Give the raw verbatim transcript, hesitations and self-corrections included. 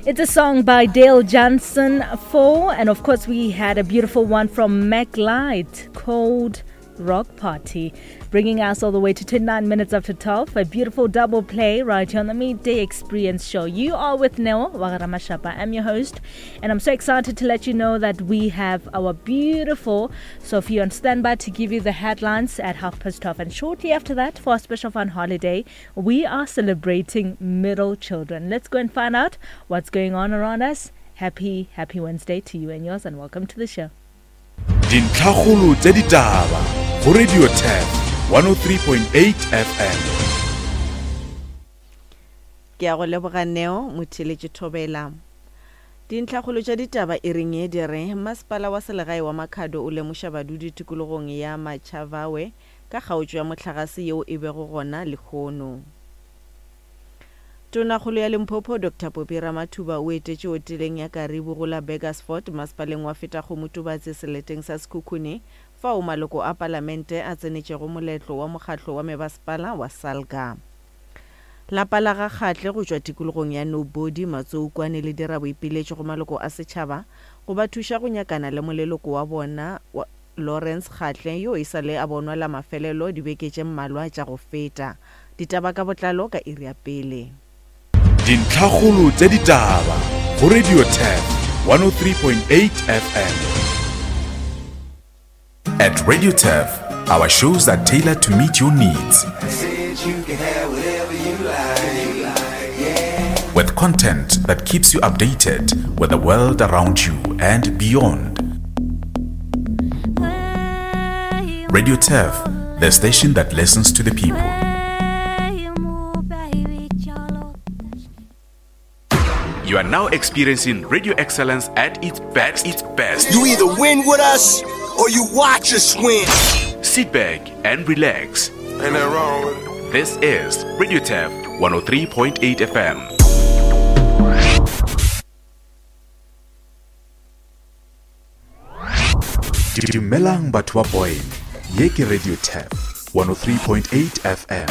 It's a song by Dale Johnson four, and of course we had a beautiful one from Mac Light called Rock Party, bringing us all the way to twenty-nine minutes after twelve. A beautiful double play right here on the Midday Experience Show. You are with Neo Wagaramashapa. I'm your host, and I'm so excited to let you know that we have our beautiful Sophie on standby to give you the headlines at half past twelve. And shortly after that, for our special fun holiday, we are celebrating middle children. Let's go and find out what's going on around us. Happy, happy Wednesday to you and yours, and welcome to the show. Dintlhakgolo tsa ditaba go Radio Turf one oh three point eight F M. Ke a go leboga Neo motheletše Thobela. Dintlhakgolo tša ditaba e reng e di re masepala wa selegae wa Makhado o lemoša badudi tikologong ya Matšhavawe ka kgaotšo ya mohlagase yeo e bego gona lehono. Tonakgolo ya Limpopo Doctor Popi Ramathuba o etetše hoteleng ya Karibu go la Burgersfort masepaleng wa Fetakgomo Tubatse seleteng sa Sekhukhune fao maloko a palamente a tsenetšego moletlo wa mokgatlo wa mebasepala wa Salga. Lapa la ga Kgatle go tšwa tikologong ya Nobody Matsoukwane le dira boipiletšo go maloko a setšhaba go ba thuša go nyakana le moleloko wa bona wa Lawrence Kgatle yo e sa le a bonwa la mafelelo dibeke tše mmalwa tša go feta. Ditaba ka botlalo ka iri ya pele. Dintlhakgolo tša ditaba go Radio Turf one oh three point eight F M. At Radio Turf, our shows are tailored to meet your needs. With content that keeps you updated with the world around you and beyond. Radio Turf, the station that listens to the people. You are now experiencing radio excellence at its best. Its best. You either win with us or you watch us win. Sit back and relax. Ain't nothing wrong with it. This is Radio Turf one oh three point eight F M. Dumelang batho ba Boyne. Ye ke Radio Turf one oh three point eight F M.